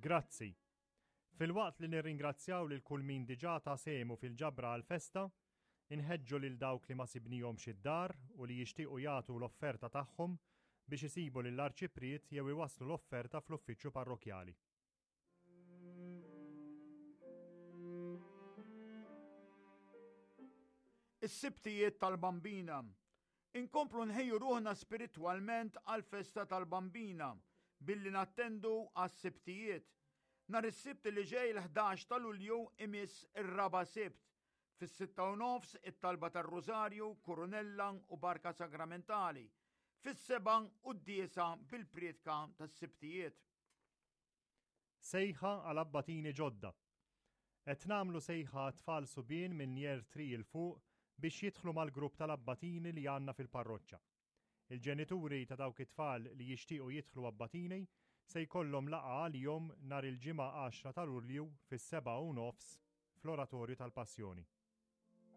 Grazzi. Filwaqt li nirringrazzjaw lil kull min diġà ta sehmu fil-ġabra għall-festa, inħeġġu lil dawk li ma sibnihomx id-dar u li jixtiequ jagħtu l-offerta tagħhom biex isibu lill-Arċipriet jew iwasslu l-offerta fl-uffiċċju parrokkjali. Is-Sibtijiet tal-Bambina. Inkomplu nħejju ruħna spiritwalment għall-festa tal-Bambina billi nattendu għas-Sibtijiet. Nhar is-Sibt li ġej l-11 ta' Lulju imiss ir-raba' Sibt. Fis-sitta u nofs it-talba tar-Rużarju, Kurunella u Barka Sagramentali. Fis-sebgħa quddiesa bil-prietka tas-Sibtijiet. Sejħa għal abbatini ġodda. Qed nagħmlu sejħa għat-tfal subien minn Year 3 'il fuq biex jidħlu mal-grupp tal-abbatini li għandna fil-parroċċa. Il-ġenituri ta' dawk it-tfal li jixtiequ jidħlu abbatini se jkollhom laqgħa għalihom nhar il-Ġimgħa 10 ta' Lulju fis-7 u nofs fl-Oratorju tal-Passjoni.